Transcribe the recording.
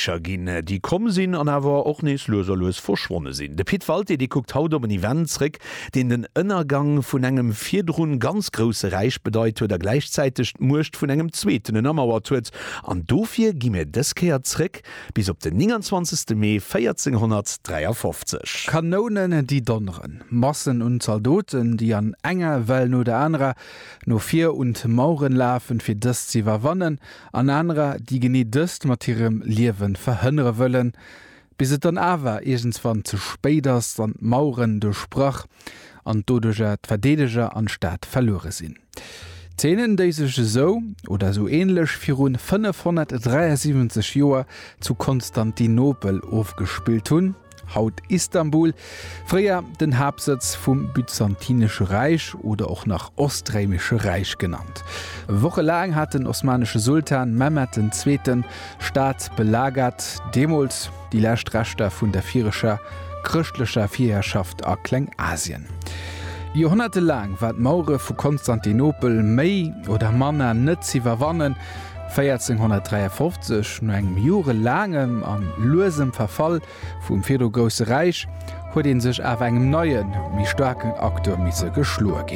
Räicher ginn, déi komm sinn an awer och nees lues a lues verschwonne sinn. De Pit Walté, dee kuckt haut op en Event zréck, deen den Ënnergang vun engem virdrun ganz grousse Räich bedeit huet a gläichzäiteg d'Muecht vun engem zweeten ënnermauert huet. An dofir gi mir dës Kéier zréck bis op den 29. Mee 1453. Kanounen, déi donneren, Massen un Zaldoten, déi an enger Well no der anerer no vir un d'Maueren lafen, fir dës ze iwwerwannen, an anerer, déi genee dëst mat hirem Liewe verhënnere wëllen, bis et dann awer iergendswann ze spéit ass an d'Maueren duerchbrach an doduercher d'Verdeedeger an d'Stad verluere sinn. Zeenen, déi sech esou oder esou ähnlech viru 573 Joer zu Konstantinopel ofgespillt hunn, haut Istanbul, fréier den Haaptsëtz vum Byzantinesche Räich oder och nach Ostréimesche Räich genannt. Wochelaang hat den osmanesche Sultan Mehmed den Zweeten d'Stad belagert, deemools déi lescht Reschter vun der vireger chrëschtlecher Virherrschaft a Klengasien. Joerhonnertelaang war d'Mauere vu Konstantinopel méi oder manner net z'iwwerwannen. 1453, no engem jorelaangem an luesem Verfall vum virdru grousse Räich, huet ee sech awer engem neien, méi staarken Acteur misse geschloe ginn.